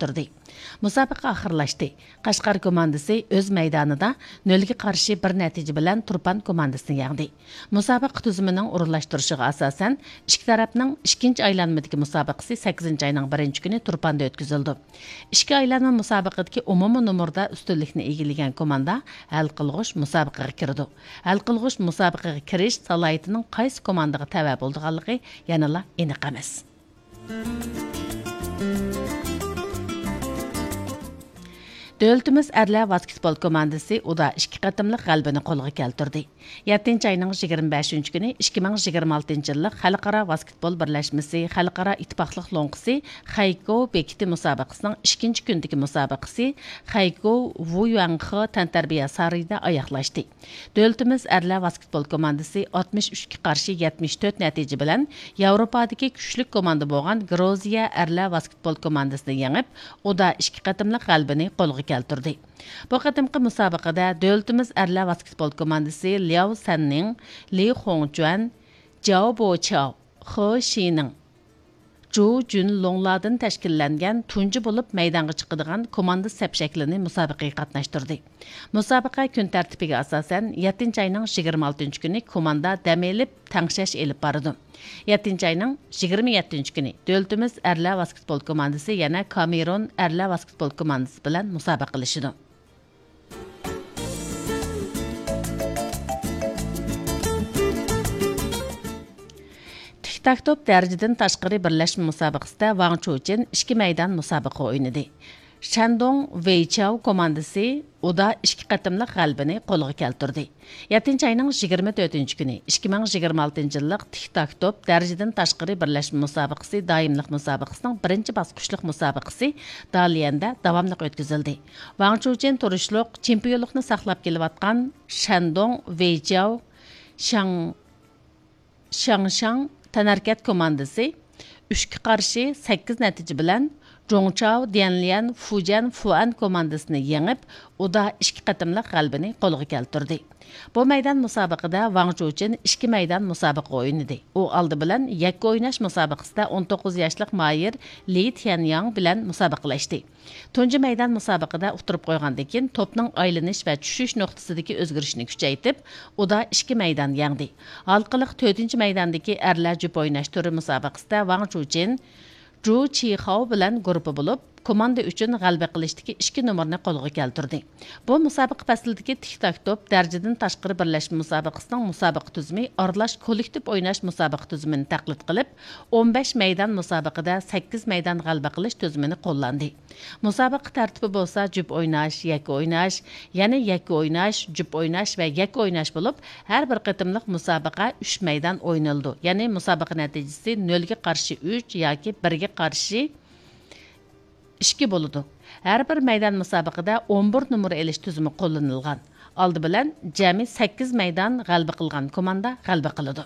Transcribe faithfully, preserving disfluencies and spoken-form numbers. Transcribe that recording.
ئۇتتۇردى. مۇسابىقە ئاخىرلاشتى. قەشقەر كوماندىسى ئۆز مەيدانىدا نۆلگە قارشى بىر نەتىجە بىلەن تۇرپان كوماندىسىنى يەڭدى. مۇسابىقە تۈزۈمىنىڭ ئورۇنلاشتۇرۇشىغا ئاساسەن، ئىككى تەرەپنىڭ ئىككىنچى ئايلانمىدىكى مۇسابىقىسى سەككىزىنچى ئاينىڭ بىرىنچى كۈنى تۇرپاندا ئۆتكۈزۈلىدۇ. ئىككى ئايلانما مۇسابىقىدىكى ئومۇمىي نومۇردا ئۈستۈنلۈكنى ئىگىلىگەن كوماندا ھەل قىلغۇچ مۇسابىقىگە كىرىدۇ. ھەل قىلغۇچ مۇسابىقىگە كىرىش سالاھىيىتىنىڭ قايسى كوماندىغا تەۋە بولىدىغانلىقى يەنىلا ئېنىق ئەمەس. دۆلىتىمىز ئەرلەر ۋاسكېتبول كوماندىسى ئۇدا ئىككى قېتىملىق غەلىبىنى قولغا كەلتۈردى. يەتتىنچى ئاينىڭ يىگىرمە بەشىنچى كۈنى ئىككى مىڭ يىگىرمە ئالتىنچى يىللىق خەلقئارا ۋاسكېتبول بىرلەشمىسى خەلقئارا ئىتتىپاقلىق لوڭقىسى خەيكو بېكىتى مۇسابىقىسىنىڭ ئىككىنچى كۈنىدىكى مۇسابىقىسى خەيكو ۋۇيۈەنخې تەنتەربىيە سارىيىدا ئاياغلاشتى. دۆلىتىمىز ئەرلەر ۋاسكېتبول كوماندىسى ئاتمىش ئۈچكە قارشى يەتمىش تۆت نەتىجە بىلەن ياۋروپادىكى كۈچلۈك كوماندا بولغان گرۇزىيە ئەرلەر ۋاسكېتبول كوماندىسىنى يېڭىپ، ئۇدا ئىككى قېتىملىق غەلىبىنى قولغا كەلتۈردى. بۇ قېتىمقى مۇسابىقىدە دۆلىتىمىز ئەرلەر ۋاسكېتبول كوماندىسى لياۋ سەننىڭ، لى خۇڭچۈەن، جياۋ بوچياۋ، خې شىنىڭ، جۇ جۈنلۇڭلاردىن تەشكىللەنگەن تۇنجى بولۇپ مەيدانغا چىقىدىغان كوماندا سەپ شەكلىنى مۇسابىقىگە قاتناشتۇردى. مۇسابىقە كۈن تەرتىپىگە ئاساسەن، يەتتىنچى ئاينىڭ يىگىرمە ئالتىنچى كۈنى كوماندا دەم ئېلىپ، تەڭشەش ئېلىپ بارىدۇ. يەتتىنچى ئاينىڭ يىگىرمە يەتتىنچى كۈنى دۆلىتىمىز ئەرلەر ۋاسكېتبول كوماندىسى يەنە كامېرون ئەرلەر ۋاسكېتبول كوماندىسى بىلەن مۇسابىقىلىشىدۇ. تىك تاك توپ دەرىجىدىن تاشقىرى بىرلەشمە مۇسابىقىسىدە ۋاڭ چۇچىن ئىككى مەيدان مۇسابىقە ئوينىدى. شەندۇڭ ۋېيچياۋ كوماندىسى ئۇدا ئىككى قېتىملىق غەلىبىنى قولغا كەلتۈردى. يەتتىنچى ئاينىڭ يىگىرمە تۆتىنچى كۈنى ئىككى مىڭ يىگىرمە ئالتىنچى يىللىق تىك تاك توپ دەرىجىدىن تاشقىرى بىرلەشمە مۇسابىقىسى دائىملىق مۇسابىقىسىنىڭ بىرىنچى باسقۇچلۇق مۇسابىقىسى داليەندە داۋاملىق ئۆتكۈزۈلدى. ۋاڭ چۇچىن تۇرۇشلۇق چېمپىيونلۇقنى ساقلاپ كېلىۋاتقان شەندۇڭ ۋېيچياۋ شاڭ شياڭشاڭ تەنھەرىكەت كوماندىسى ئۈچكە قارشى سەككىز نەتىجە بىلەن جۇڭچاۋ ديەنليەن فۇجيەن فۇئەن كوماندىسىنى يېڭىپ، ئۇدا ئىككى قېتىملىق غەلىبىنى قولغا كەلتۈردى. بۇ مەيدان مۇسابىقىدە ۋاڭ چۇچىن ئىككى مەيدان مۇسابىقە ئوينىدى. ئۇ ئالدى بىلەن يەككە ئويناش مۇسابىقىسىدە ئون توققۇز ياشلىق ماھىر لى تيەنياڭ بىلەن مۇسابىقىلەشتى. تۇنجى مەيدان مۇسابىقىدە ئۇتتۇرۇپ قويغاندىن كېيىن، توپنىڭ ئايلىنىش ۋە چۈشۈش نۇقتىسىدىكى ئۆزگىرىشنى كۈچەيتىپ، ئۇدا ئىككى مەيدان يەڭدى. ھالقىلىق تۆتىنچى مەيداندىكى ئەرلەر جۈپ ئويناش تۈرى مۇسابىقىسىدە ۋاڭ چۇچىن، جۇ چىخاۋ بىلەن گۇرۇپپا بولۇپ، كوماندا ئۈچۈن غەلىبە قىلىشتىكى ئىككى نومۇرنى قولغا كەلتۈردى. بۇ مۇسابىقە پەسلىدىكى تىك تاك توپ دەرىجىدىن تاشقىرى بىرلەشمە مۇسابىقىسىنىڭ مۇسابىقە تۈزۈمى ئارىلاش كوللېكتىپ ئويناش مۇسابىقە تۈزۈمىنى تەقلىد قىلىپ، ئون بەش مەيدان مۇسابىقىدە سەككىز مەيدان غەلىبە قىلىش تۈزۈمىنى قوللاندى. مۇسابىقە تەرتىپى بولسا جۈپ ئويناش، يەككە ئويناش، يەنە يەككە ئويناش، جۈپ ئويناش ۋە يەككە ئويناش بولۇپ، ھەر بىر قېتىملىق مۇسابىقە ئۈچ مەيدان ئوينىلىدۇ. يەنى مۇسابىقە نەتىجىسى نۆلگە قارشى ئۈچ ياكى بىرگە قارشى ئىككى بولىدۇ. ھەر بىر مەيدان مۇسابىقىدە ئون بىر نومۇر ئېلىش تۈزۈمى قوللىنىلغان. ئالدى بىلەن جەمئىي سەككىز مەيدان غەلىبە قىلغان كوماندا غەلىبە قىلىدۇ.